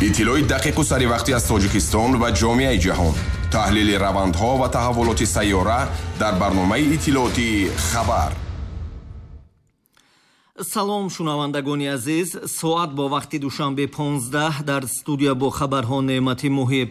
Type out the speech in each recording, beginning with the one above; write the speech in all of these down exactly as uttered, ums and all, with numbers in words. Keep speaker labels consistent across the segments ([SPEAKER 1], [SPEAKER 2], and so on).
[SPEAKER 1] Иттилои дақиқу саривақтӣ аз Тоҷикистон ва ҷомеаи ҷаҳон, таҳлили равандҳо ва таҳаввулоти сайёра дар барномаи иттилоотии «Хабар».
[SPEAKER 2] Салом, шунавандагони азиз. Соат бо вақти Душанбе понздаҳ, дар студия бо хабарҳо Неъмати Муҳиб.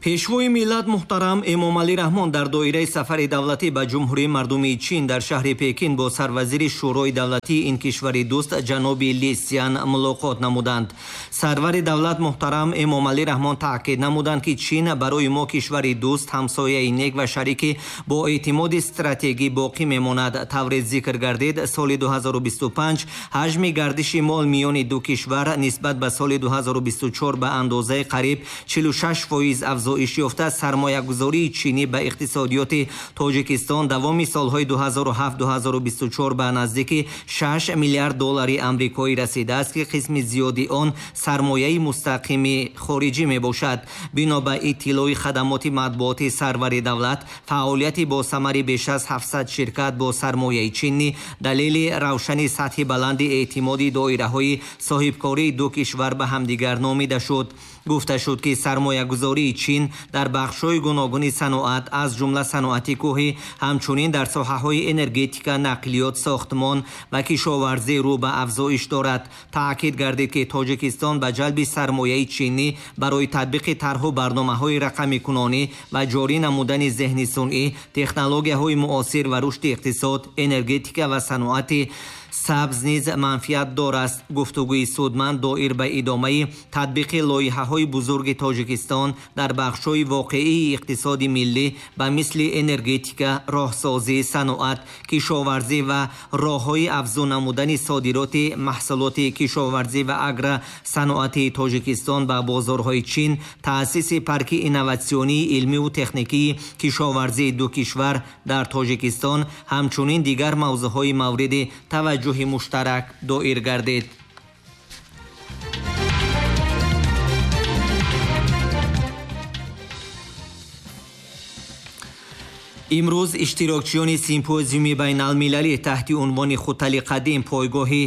[SPEAKER 2] Пешвои миллат муҳтарам Эмомалӣ Раҳмон дар доираи сафари давлатӣ ба Ҷумҳурии Мардумии Чин дар шаҳри Пекин бо сарвазири Шӯрои давлатии ин кишвари дӯст ҷаноби Ли Сян мулоқот намуданд. Сарвари давлат муҳтарам Эмомалӣ Раҳмон таъкид намуданд, ки Чин барои мо кишвари дӯст, ҳамсояи нек ва шарики бо эътимоди стратегӣ боқӣ мемонад. Тавре зикр гардид, соли ду ҳазору бисту панҷ ҳаҷми гардиши мол миёни ду кишвар нисбат ба соли ду ҳазору бисту чор ба андозаи қариб чилу шаш фоиз афзоиш ёфта, сармоягузории чинӣ ба иқтисодиёти Тоҷикистон давоми солҳои ду ҳазору ҳафт ду ҳазору бисту чор ба наздики шаш миллиард доллари амрикоӣ расидааст, ки қисми зиёди он сармояи мустақими хориҷӣ мебошад. Бино ба иттилои хадамоти матбуоти сарвари давлат, фаъолияти босамари беш аз ҳафтсад ширкат бо сармояи чинӣ далели равшани сатҳи баланди эътимоди доираҳои соҳибкории ду кишвар ба ҳамдигар номида шуд. Гуфта шуд, ки сармоягузории Чин дар бахшҳои гуногуни саноат, аз ҷумла саноати кӯҳӣ, ҳамчунин дар соҳаҳои энергетика, нақлиёт, сохтмон ва кишоварзӣ рӯ ба афзоиш дорад. Таъкид гардид, ки Тоҷикистон ба ҷалби сармояи чинӣ барои татбиқи тарҳу барномаҳои рақамикунонӣ ва ҷорӣ намудани зеҳни сунъӣ, технологияҳои муосир ва рушди иқтисод, энергетика ва саноати сабз низ манфиатдор аст. Гуфтугӯи судманд доир ба идомаи татбиқи лоиҳаҳои бузурги Тоҷикистон дар бахшҳои воқеии иқтисоди миллӣ ба мисли энергетика, роҳсозӣ, саноат, кишоварзӣ ва роҳҳои афзун намудани содироти маҳсулоти кишоварзӣ ва агросаноати Тоҷикистон ба бозорҳои Чин, таъсиси парки инноватсионии илмиву техникии кишоварзии ду кишвар дар Тоҷикистон, ҳамчунин дигар мавзӯъҳои мавриди таваҷҷӯҳи муштарак доир гардид. Имрӯз иштирокчиёни симпозиуми байналмилалӣ таҳти унвони «Хутали қадим, пойгоҳи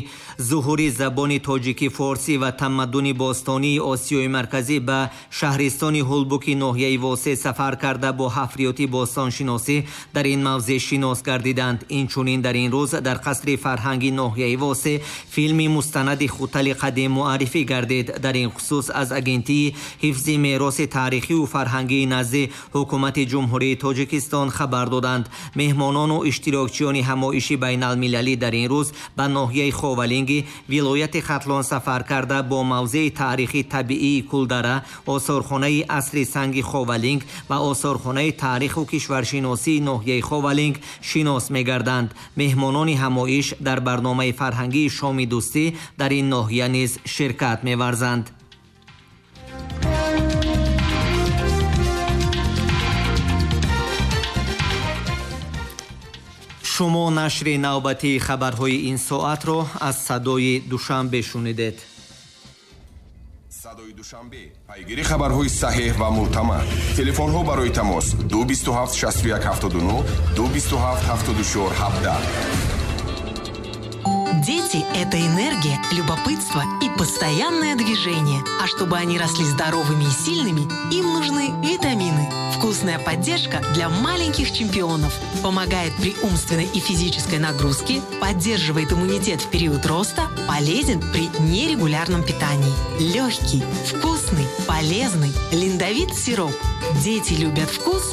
[SPEAKER 2] зуҳури забони тоҷикӣ, форсӣ ва тамаддуни бостонии Осиёи Марказӣ ба шаҳристони Ҳулбуки ноҳияи Восеъ сафар карда, бо ҳафриёти бостоншиносӣ дар ин мавзеъ шинос гардиданд. Инчунин дар ин рӯз дар қасри фарҳанги ноҳияи Восеъ филми мустанади «Хутали қадим» муаррифӣ гардид. Дар ин хусус аз Агентии ҳифзи мероси таърихию фарҳангии назди Ҳукумати Ҷумҳурии Тоҷикистон хабар доданд. Меҳмонону иштирокчиёни ҳамоиши байналмилалӣ дар ин рӯз ба ноҳияи Ховалинги вилояти Хатлон сафар карда, бо мавзеи таърихи табиии Кулдара, осорхонаи асри санги Ховалинг ва осорхонаи таъриху кишваршиносии ноҳияи Ховалинг шинос мегарданд. Меҳмонони ҳамоиш дар барномаи фарҳангии шоми дӯстӣ дар ин ноҳия низ ширкат меварзанд. Шумо нашри навбатии хабарҳои ин соатро аз Садои Душанбе шунидед.
[SPEAKER 1] Садои Душанбе, пайгири хабарҳои саҳеҳ ва мӯътамад. Телефонҳо барои тамос ду бисту ҳафт шасту як ҳафтоду нӯҳ, ду бисту ҳафт ҳафтоду чор ҳабдаҳ.
[SPEAKER 3] Дети – это энергия, любопытство и постоянное движение. А чтобы они росли здоровыми и сильными, им нужны витамины. Вкусная поддержка для маленьких чемпионов. Помогает при умственной и физической нагрузке, поддерживает иммунитет в период роста, полезен при нерегулярном питании. Легкий, вкусный, полезный Линдовит сироп. Дети любят вкус,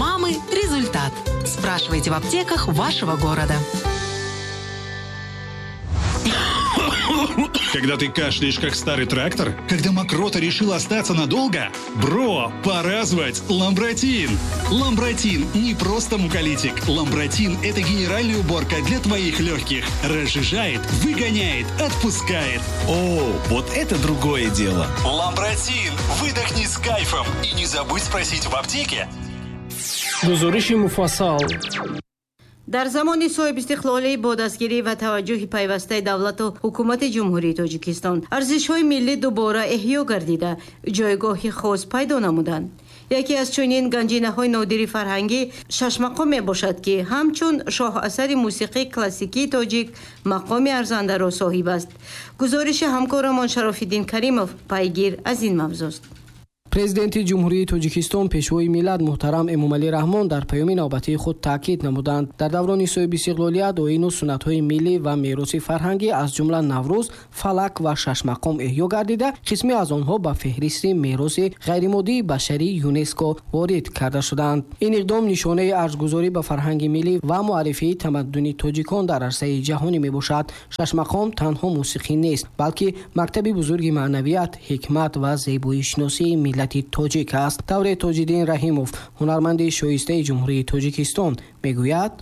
[SPEAKER 3] мамы – результат. Спрашивайте в аптеках вашего города.
[SPEAKER 4] Когда ты кашляешь, как старый трактор? Когда мокрота решила остаться надолго? Бро, пора звать Ламбратин! Ламбратин не просто муколитик. Ламбратин – это генеральная уборка для твоих легких. Разжижает, выгоняет, отпускает.
[SPEAKER 5] О, вот это другое дело.
[SPEAKER 4] Ламбратин! Выдохни с кайфом и не забудь спросить в аптеке.
[SPEAKER 6] Гузориши муфассал.
[SPEAKER 7] Дар замони соҳибистиқлолӣ бо дастгирӣ ва таваҷҷӯҳи пайвастаи давлату ҳукумати Ҷумҳурии Тоҷикистон арзишҳои миллӣ дубора эҳё гардида, ҷойгоҳи хос пайдо намуданд. Яке аз чунин ганҷинаҳои нодири фарҳангӣ шашмақом мебошад, ки ҳамчун шоҳасари мусиқии классикии тоҷик мақоми арзандаро соҳиб аст. Гузориши ҳамкорамон Шарофиддин Каримов пайгир аз ин мавзӯст.
[SPEAKER 6] Президенти Ҷумҳурии Тоҷикистон, Пешвои миллат муҳтарам Эмомалӣ Раҳмон дар паёми навбатии худ таъкид намуданд: дар даврони соҳибистиқлолият оину суннатҳои миллӣ ва мероси фарҳангӣ, аз ҷумла Наврӯз, фалак ва шашмақом эҳё гардида, қисме аз онҳо ба феҳристи мероси ғайримоддии башарии ЮНЕСКО ворид карда шуданд. Ин иқдом нишонаи арзгузорӣ ба фарҳанги миллӣ ва муаррифии тамаддуни тоҷикон дар арсаи ҷаҳонӣ мебошад. Шашмақом танҳо мусиқӣ нест, балки мактаби бузурги маънавият, ҳикмат ва зебоишиносии миллати тоҷик аст. Тавре Тоҷиддин Раҳимов, ҳунарманди шоистаи Ҷумҳурии Тоҷикистон, мегӯяд: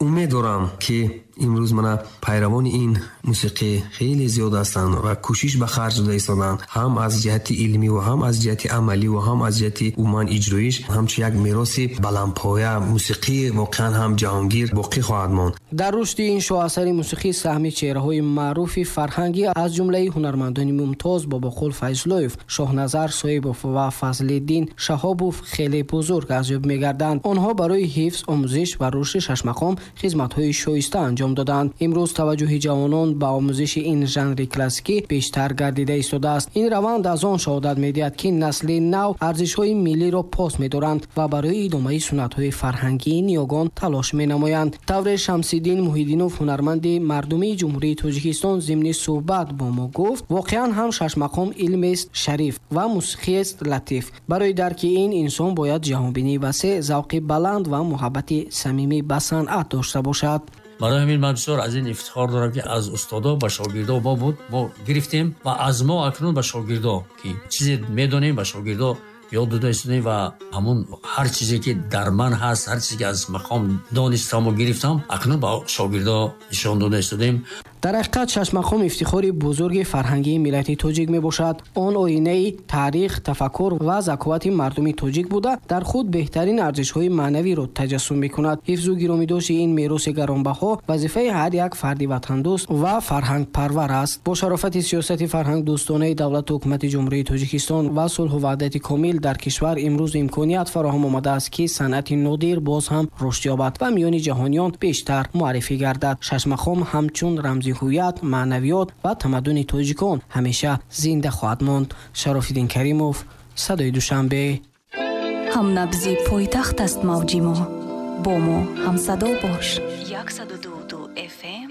[SPEAKER 8] Умед дорам, ки имрӯз мана пайравони ин мусиқӣ хеле зиёд ҳастанд ва кӯшиш ба харҷ дода истоданд, ҳам аз ҷиҳати илмӣ ва ҳам аз ҷиҳати амалӣ ва ҳам аз ҷиҳати умуман иҷроиш, ҳамчун як мероси баландпоя мусиқӣ воқеан ҳам ҷаҳонгир боқӣ хоҳад монд.
[SPEAKER 6] Дар рушди ин шоҳасари мусиқӣ саҳми чеҳраҳои маъруфи фарҳангӣ, аз ҷумлаи ҳунармандони мумтоз Бобоқул Файзуллоев, Шоҳназар Соҳибов ва Фазлиддин Шаҳобов хеле бузург арзёб мегарданд. Онҳо барои ҳифз, омӯзиш ва рушди шашмақом хизматҳои шоиста анҷом доданд. Имрӯз таваҷҷӯҳи ҷавонон ба омӯзиши ин жанри классикӣ бештар гардида истодааст. Ин раванд аз он шаҳодат медиҳад, ки насли нав арзишҳои миллиро пос медоранд ва барои идомаи суннатҳои фарҳангии ниёгон талош менамоянд. Тавре Шамсиддин Муҳиддинов, ҳунарманди мардумии Ҷумҳурии Тоҷикистон, зимни суҳбат бо мо гуфт: воқеан ҳам шашмақом илмест шариф ва мусиқиест латиф. Барои дарки ин инсон бояд ҷаҳонбинии васеъ, завқи баланд ва муҳаббати самимӣ ба санъат дошта бошад.
[SPEAKER 9] Барои ҳамин ман бисёр аз ин ифтихор дорам, ки аз устодо ба шогирдо мо буд, мо гирифтем ва аз мо акнун ба шогирдо, ки чизе медонем, ба шогирдо ёд дода истодем ва ҳамун ҳар чизе ки дар ман ҳаст, ҳар чизе ки аз мақом донистаму гирифтам, акнун ба шогирдо нишон дода истодем.
[SPEAKER 6] Дар ҳақиқат шашмақом ифтихори бузурги фарҳангии миллати тоҷик мебошад. Он оинаи таърих, тафаккур ва заковати мардуми тоҷик буда, дар худ беҳтарин арзишҳои маънавиро таҷассум мекунад. Ҳифзу гиромидошти ин мероси гаронбаҳо вазифаи ҳар як фарди ватандӯст ва фарҳангпарвар аст. Бо шарофати сиёсати фарҳангдӯстонаи давлату ҳукумати Ҷумҳурии Тоҷикистон ва сулҳу ваҳдати комил дар кишвар имрӯз имконият фароҳам омадааст, ки санъати нодир боз ҳам рушд ёбад ва миёни ҷаҳониён бештар муаррифӣ гардад. Шашмақом ҳамчун рамзи ҳувият, маънавиёт ва тамаддуни тоҷикон ҳамеша зинда хоҳад монд. Шарофиддин Каримов, Садои Душанбе.
[SPEAKER 10] Ҳамнабзи пойтахт аст мавҷи мо, бо мо ҳамсадо бош. Яксаду ду F M.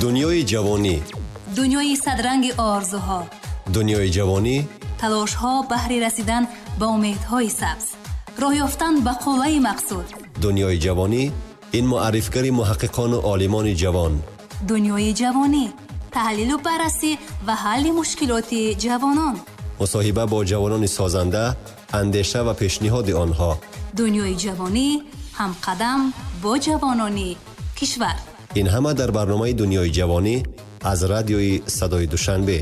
[SPEAKER 11] Дунёи ҷавонӣ,
[SPEAKER 10] дунёи садранги орзуҳо,
[SPEAKER 11] дунёи ҷавонӣ,
[SPEAKER 10] талошҳо баҳри расидан ба умедҳои сабз, роҳ ёфтан ба қуллаи мақсуд.
[SPEAKER 11] Дунёи ҷавонӣ ин муаррифгари муҳаққиқону олимони ҷавон.
[SPEAKER 10] Дунёи ҷавонӣ таҳлилу баррасӣ ва ҳалли мушкилоти ҷавонон,
[SPEAKER 11] мусоҳиба бо ҷавонони созанда, андеша ва пешниҳоди онҳо.
[SPEAKER 10] Дунёи ҷавонӣ ҳамқадам бо ҷавонони кишвар.
[SPEAKER 11] Ин ҳама дар барномаи Дунёи ҷавонӣ аз радиои Садои Душанбе.